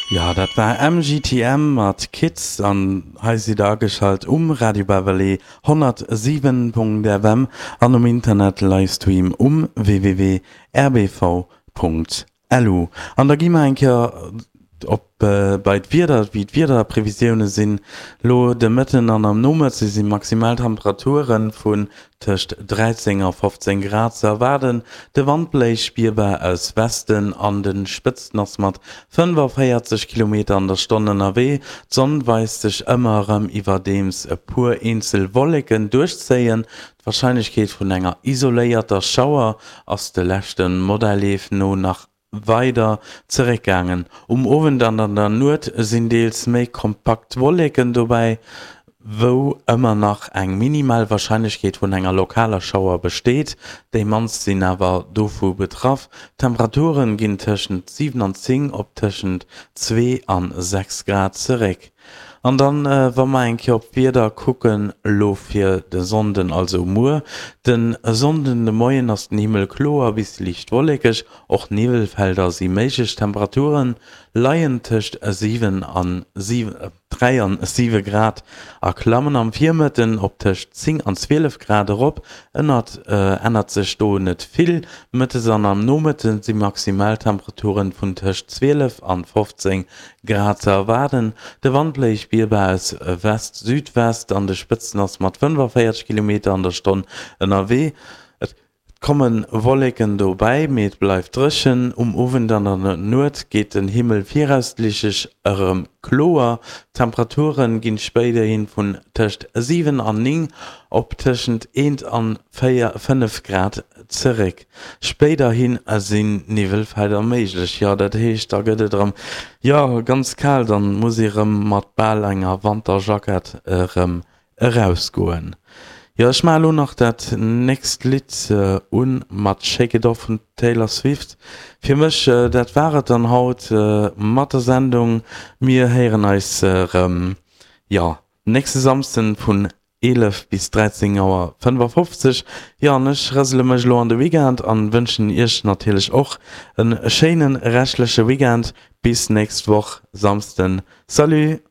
Jo, dat war MGTM mat Kids an hei sidd der ageschalt um Radio Beverly 107.fm an um Internet Livestream um www.rbv.lu. An da gi mer eng Kéier op bei d'Wieder, wéi d'Wiederprevisioune sinn. Lo de Mëtten an am Nomëtte si maximal Temperature vun tëscht 13 a 15 Grad ze erwaarden. De Wand bléist spierbar aus Westen, an de Spëtzten ass mat 45 Kilometer an der Stonn ënnerwee. D'Sonn weist sech ëmmer erëm, iwwerdeems e puer eenzel Wolleken duerchzéien. D'Warscheinlechkeet vun enger isoléierter Schauer ass de leschte Modelleef no nach weider zeréckgaangen. Um Owend an an der Nuet sinn deels méi kompakt Wolleken dobäi, wou ëmmer nach eng minimal Warscheinlechkeet vun enger lokaler Schauer besteet. Déi mannst sinn awer dovu betraff. D'Temperature ginn tëschent 7 an 10 op tëschent 2 an 6 Grad zeréck. An dann, wa mer eng Kéier op d'Wieder kucken, elo fir de Sonnden, also muer de Sonnden de Moien, ass den Himmel kloer bis liicht wollekeg, och Niwwelfelder si méiglech. D'Temperature leien tëscht 7 an 3 an 7 Grad a klammen am Virmëtten op tëscht 10 an 12 Grad erop. Ënnert ännert sech do net vill. Mëttes an am Nomëtte si Maximaltemperaturen vun tëscht 12 an 15 Grad ze erwaarden. De Wand bléist spierbar aus West-Südwest, an de Spëtzen ass mat 45 Kilometer an der Stonn ënnerwee. Et komme Wolleken dobäi, mee et bleift dréchen. Um Owend an an der Nuet geet den Himmel viraussiichtlech erëm kloer. D'Temperature ginn spéiderhi vun tëscht 7 an 9 op tëschent 1 an 4, 5 Grad zeréck. Spéiderhi sinn Niwwelfelder méiglech. Jo, dat heescht, da gëtt et erëm, jo, ganz kal, dann muss ee rëm mat bal enger Wanterjackett erëm erausgoen. Jo, ech maache lo nach dat nächst Lidd un mat Shake It Off vun Taylor Swift. Fir mech, dat war et dann haut mat der Sendung. Mir héieren eis erëm, jo, nächste Samsden vun 11 bis 13 Auer 55. Jo an ech rësele mech elo an de Weekend an wënschen iech natierlech och en schéinen reschtleche Weekend. Bis nächst Woch Samsden. Salut!